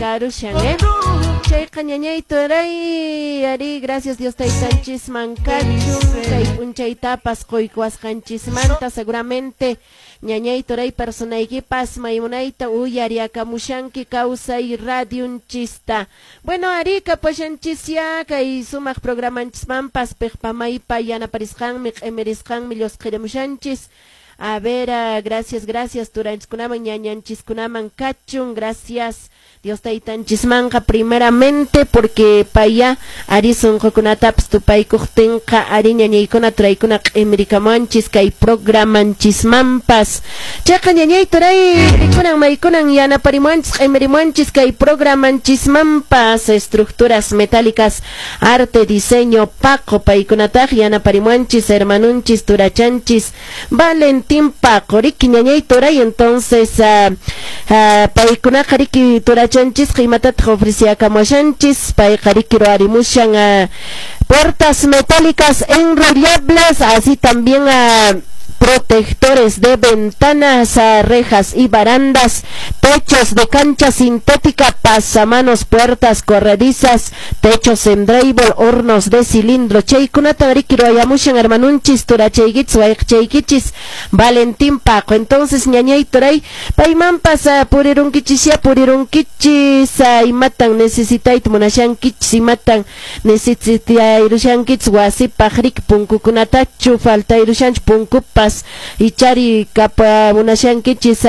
Karushan, eh? Chayqa ñañay turay ari, gracias Dios taytanchisman kachun kay p'unchaytapas quykuwasqanchismanta. Seguramente ñañay turay personaykipas maymunayta uyariakamushanki Kawsay Radionchista. Bueno, ari, kapashanchisya kay sumaq programanchismanpas piqpa maypa yanaparisqanmi, q'imirisqanmi llusqirimushanchis. A ver, gracias, gracias turanchiskunaman, ñañanchiskunaman kachun, gracias Dios taytanchismanqa primeramente, porque paya ari sunqukunatapas tupaykuqtinqa ari ñañaykuna turaykuna q'imirikamuanchis kay programanchismanpas. Chayqa ñañay turay rikunan maykunan yanaparimuanchis q'imirimuanchis kay programanchismanpas Estructuras Metálicas Arte Diseño Paco, paykunataq yanaparimuanchis hermanunchis turachanchis Valentín Paco, riki ñañay turay. Entonces paykunaqa riki turachanchisqa imatataq ofreciakamuashanchis? Payqa riki ruwarimushan puertas metálicas enrollables, así también protectores de ventanas, rejas y barandas, techos de cancha sintética, pasamanos, puertas corredizas, techos en drywall, hornos de cilindro. Chaykunata riki ruwayamushan hermanunchis turachaykich wayqchaykichis Valentín Paco. Entonces ñañay turay paymanpas purirunkichis ya purirunkichis imatan necesitayta munashankichis, imatan necesitayrushankichis wasipaq riki punkukunatachu faltayrushanchis punkupas ichari kapa munashankichis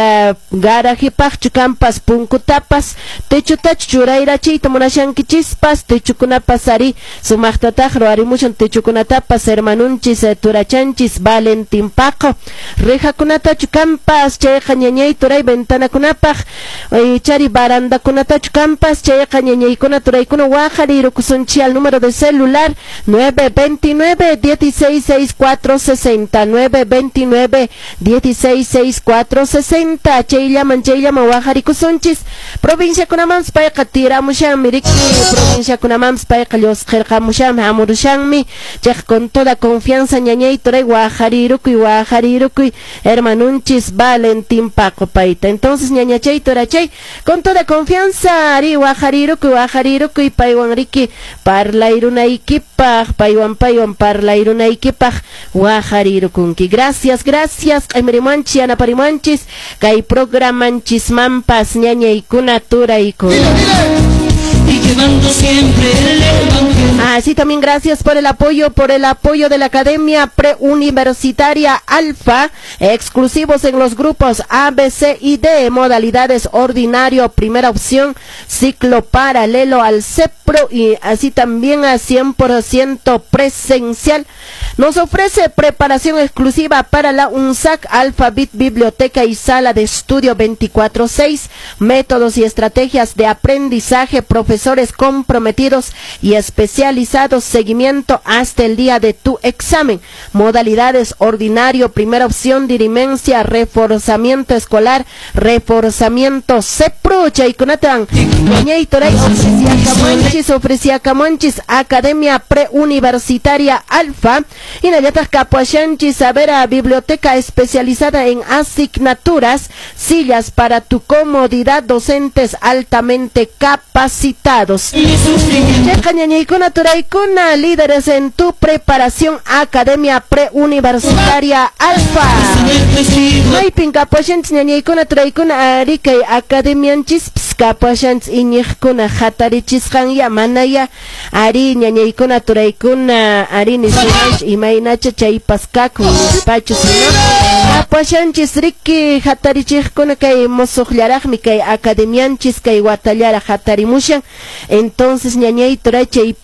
garajipaqchu kampas punkutapas techotachu churayrachiyta munashankichispas techukunapas ari sumaqtataq ruwarimushan techukunatapas hermanunchis turachanchis Valentín Paco. Rejakunatachu kampas chayqa ñañay turay ventanakunapaq ichari barandakunatachu kampas chayqa ñañaykuna turaykuna waqarirukusunchik al número de celular 929 16 64 60, 929 16 64 60. Chayllaman chayllaman waqarikusunchis. Provinciakunamanpas payqa tiramushanmi riki, provinciakunamanpas payqa llusqirqamushanmi hamurushanmi. Chayqa con toda confianza ñañay turay waqarirukuy waqarirukuy hermanunchis Valentín Paco payta. Entonces ñañachay turachay con toda confianza ari waqarirukuy waqarirukuy paywan riki parlayrunaykipaq paywan paywan parlayrunaykipaq waqarirukunki. Gracias, gracias q'imirimuanchis yanaparimuanchis kay programanchismanpas ñañaykuna turaykuna. Y llevando siempre el evangelio. Así también gracias por el apoyo de la Academia Preuniversitaria Alfa, exclusivos en los grupos A, B, C y D, modalidades ordinario, primera opción, ciclo paralelo al CEPRO y así también a 100% presencial. Nos ofrece preparación exclusiva para la UNSAAC, Alphabet, Biblioteca y Sala de Estudio 24/6, métodos y estrategias de aprendizaje, profesores comprometidos y especializados, seguimiento hasta el día de tu examen. Modalidades ordinario, primera opción, dirimencia, reforzamiento escolar, reforzamiento CEPRO, chaykunatan, ñañay turay ofrecía ofrecía Camonchis, Academia Preuniversitaria Alfa, y Nayatas Capuashanchis, a ver a biblioteca especializada en asignaturas, sillas para tu comodidad, docentes altamente capacitados. Chayqa ñañaykuna turaykuna, líderes en tu preparación, Academia Preuniversitaria Alfa. Maypin kapuashanchis ñañaykuna turaykuna ari kay academianchis kapuashanchis iñiqkuna hatarichisqanya manaya ari ñañaykuna turaykuna ari nisunanchis imaynacha chaypas kakun nispachu sino kapuashanchis riki hatarichiqkuna kay musuqllaraqmi kay academianchis kay watallaraq hatarimushan. Entonces ñañay turay chay